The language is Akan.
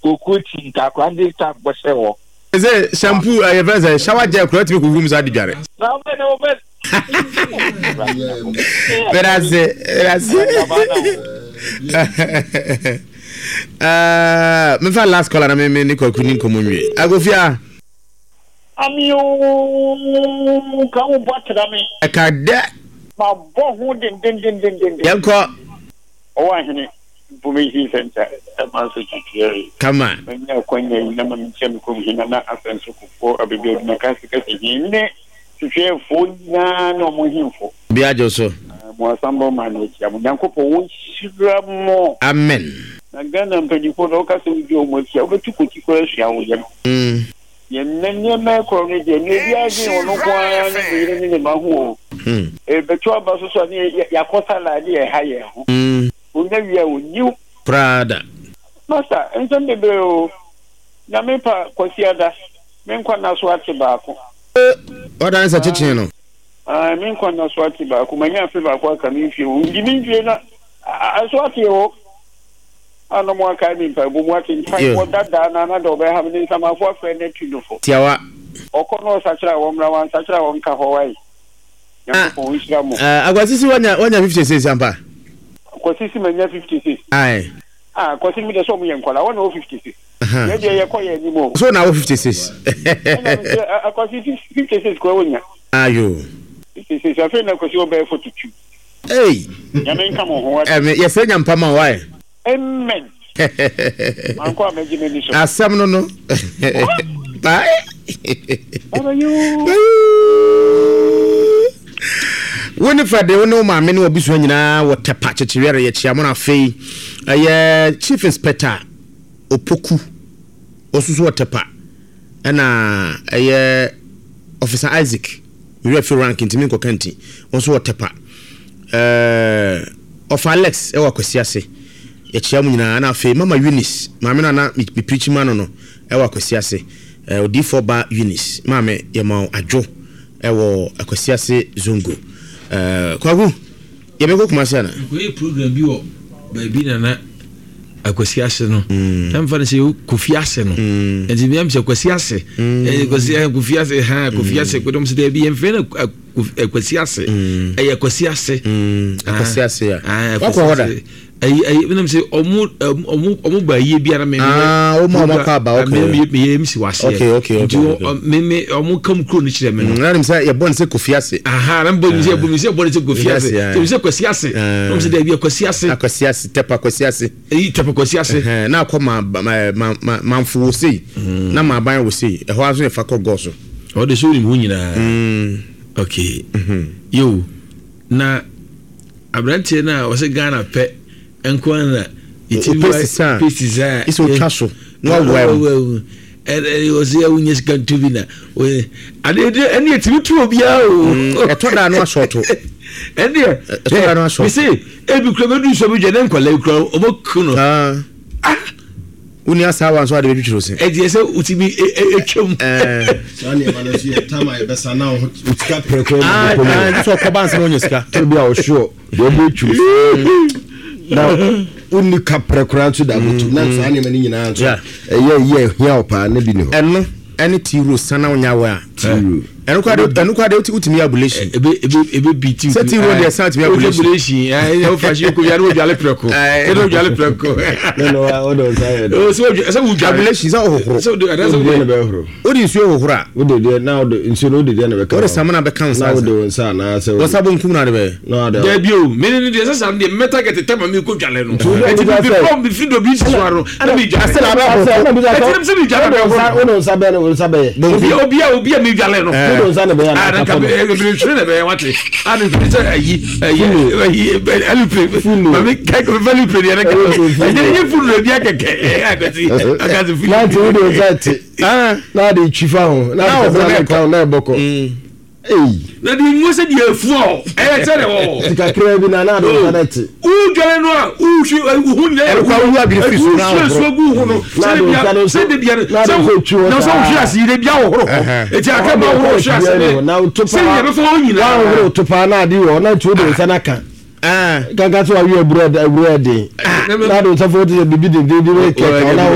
Kokuo ti nka akora no de tap bɔhyɛ hɔ. Sɛ shampoo ɛyɛ fɛ sɛ shower gel kura tumi kuku mu saa de dware. Na wobɛ na wobɛ. Medase medase. Mefa last caller na me me ne kwaku ni nkɔmɔ nwie. Agofia. Ami ooo ka wo bɔ atra me. Ɛka dɛ. Ma bɔ ho dendendendenden. Yɛnkɔ. Ɔwɔ ahene. Information Center ɛma nso kyekyerɛ. Kama. Manya akwanya yi na ma menkyia me kurom he Nana Asɛnso Kufuor Abɛbi Adwuma Kasi Kasi he ne Twetweɛfoɔ nyinaa ne ɔmo hemfo. Obi agye wo so. Mo asambɔ man no akyia mo. Nyankopɔn ɔnhyira mo. Amen. Na Ghana mpanyinfoɔ no woka sɛ wodi ɔmo akyi a wobɛtu koti koraa asua wo yam. Yɛn nnɛ nneɛma ɛkorɔ no deɛ nea obiara dwen ɔno nko ara ne ne yere ne ne mma ho o. Ɛbɛto aba so so a ne yɛakɔ sala ne yɛha yɛn ho. Onya wie a ɔnyi wo. Koraa da. Master, nsɛm bebree o. Nyame pa Kwasiada, me nkwa nna so ate baako. Ɔdan sɛ kyekyee no. Ae, me nkwa nna so ate baako. Manya afe baako aka me mfie ho. Ndi me mfie na ɛso ate o. A na ɔmo akae me mpaebɔ mu ate mpaebɔ dadaa na na dɛ ɔbɛha me ne nsamafo afrɛ no atu no fo. Tiawa. Ɔkɔ na ɔsakyera a wɔmmra, wansakyera a ɔnka hɔ wae. Nyankopɔn nhyira mo. Ah, Akwasisi wanya wanya 56 ampa. Kwasisi manya 56. Aye. Ah, Kwasi mi de sɛ ɔmo yɛ nkɔla, wɔn na wɔ 56. Yɛ deɛ yɛkɔ yɛ anim o. So na wɔ 56. Ɛna mi sɛ Akwasi 56 kura wonya. Ayo. 56 afei na Kwasi ɔbɛyɛ 42. Hey. Nyame nka mo ho wa. Ɛmi yɛsɛ nyampa ma wae. Amen. Mankɔ a mɛgye m'ani so. Asɛm no no. Bye. Bye you. Wo ne Fred wo ne wo maame ne w'abusua nyinaa wɔ Tɛpa Kyekyereɛre yɛkyea mo na afei ɛyɛ Chief Inspector Opoku ɔso so wɔ Tɛpa ɛna ɛyɛ Officer Isaac Me werɛ fi rank nti menkɔka nti. Wo nso wɔ Tɛpa. Ɛɛ Ɔfa Alex wɔ Akwasi ase. Yɛkyea mo nyinaa. Ɛna afei Mama Eunice, maame no a na me preachi ma no no wɔ Akwasi ase. Ɛɛ Odiyifoɔ ba Eunice, maame yɛma wo adwo wɔ Akwasi ase Zongo. Ɛɛ Kwaku, yɛbɛkɔ Kumasi ana? Mekɔyɛ program bi wɔ baabi na na akwasi ase no mm. na mfa no sɛ kofi ase no mm. nti meam sɛ kwasi ase mm. eh, kwasi eh, kofi ase ha kofi ase kodɔm sɛ daabi yɛmfrɛ no eh, kwasi ase ɛyɛ kwasi ase kwasi ase ya wakɔ hɔ da ayi ayi menam sɛ ɔmo ɔmo ɔmo ba yie bi ara me ah ɔmo ɔmo akɔ aba okay me me yɛ mc wase okay okay nti me me ɔmo kam kuro no kyerɛ me no na nim sɛ yɛbɔ ne sɛ kofi ase aha na mbɔ mi sɛ yɛbɔ mi sɛ yɛbɔ ne sɛ kofi ase sɛ sɛ kwasi ase na ɔmo sɛ daabi kwasi ase akwasi ase tɛpa kwasi ase eyi tɛpa kwasi ase na akɔ ma ma ma manfo wɔ sei mm. na ma aban wɔ sei ɛhɔ aso yɛ fa kɔ gɔɔ so ɔde so wonim ho nyinaa mm. okay mm-hmm. yo na aberanteɛ no a ɔsɛ Ghana pɛ nko ara na yɛtumi wa pesi saa ɛsɛ otwa so na wawa mu ɛne ɔsɛ yɛ wonya sika nto bi na ade ɛne ɛtumi to obiara o mm, ɛtɔ da no asɔɔto ɛneɛ ɛtɔ da no asɔɔto mese ebi kura bɛdu sɔ bi dwa ne nkɔla bi kura ɔmɔku no ah. ah. Wonni asaawa nso ade bɛtwitwiri wo se. Ɛdeɛ sɛ wotumi twam. Saa nneɛma no nso yɛ tam a yɛbɛsa na wo ho sika prɛko ah, ah, sɛ ɔkɔba ansa na ɔnya sika. Toro bi a ɔsoɔ deɛ ɔbɔ atwam na wonni ka prɛ koraa nso da bɛtu na saa nneɛma no nyinaa nso ɛyɛ yɛ hia wo paa na bi ni hɔ. Ɛno ɛne tiro sana wonya wɔ a. Tiro. Ɛno kora de ɛno kora de wotumi yɛ abulation. Ebe ebe ebe bi ti. Sɛ tiro deɛ san tumi abulation. Abulation ɛɛ o fa si ko yare o dwale prɛko. Ɛna o dwale prɛko. Ne no wa o de nsa yɛ dɛ. O sɛ o sɛ o dwale. Abulation sɛ ɔhohoro. Sɛ o de ɛna sɛ o de na bɛ horo. O de nsuo hohoro a. O de deɛ na o de nsuo na o de deɛ na bɛ ka. O de samina bɛ ka nsa. Na o de nsa anaa sɛ. Wɔsa bonkum na de bɛ. Na ɔde. Dabi o mene ne deɛ sɛ saa deɛ mɛta kɛtɛ tɛma mi ko dwale no. Ɛti mi bi mi fi do bi si so ano na mi dwale. Asɛ na abɛ horo. Ɛti mi sɛ mi dwale bɛ horo. O de nsa bɛ o nsa bɛ yɛ. Obi obi a obi a mi dwale no. O de nsa na bɛ yɛ na nka mi hwere na bɛ yɛ wate. A mi hwere sɛ ayi ayi ayi alupre. Mami kɛ mi fɛ alupre deɛ ne kɛ. Ɛnyɛ nye funu ebi akɛkɛ ɛyɛ akɛse akɛse funu. Na ti o de nsa ti. Na de twi fa ho. Na de ka na ɛbɔkɔ. Ei. Na deɛ nwa sɛ deɛ afu ɔ ɛyɛ sɛ deɛ wɔ. Ti kakra bi na na ade nsa na te. Wodware no a wohwi wo ho nyinaa yɛ hu no wohwie nsuo gu ho no sɛ de bia sɛ de bia sɛ na sɛ wohwe ase yi de bia wohoro hɔ eti aka ma wohoro hwe ase ne sɛ deɛ bɛfa hɔ nyinaa. Wohoro to paa na ade wɔ na nti wode nsa na ka. Kanka sɛ wawe aburo aburo ɛden na ade nsa fo te sɛ bibi dendenden kɛkɛ na.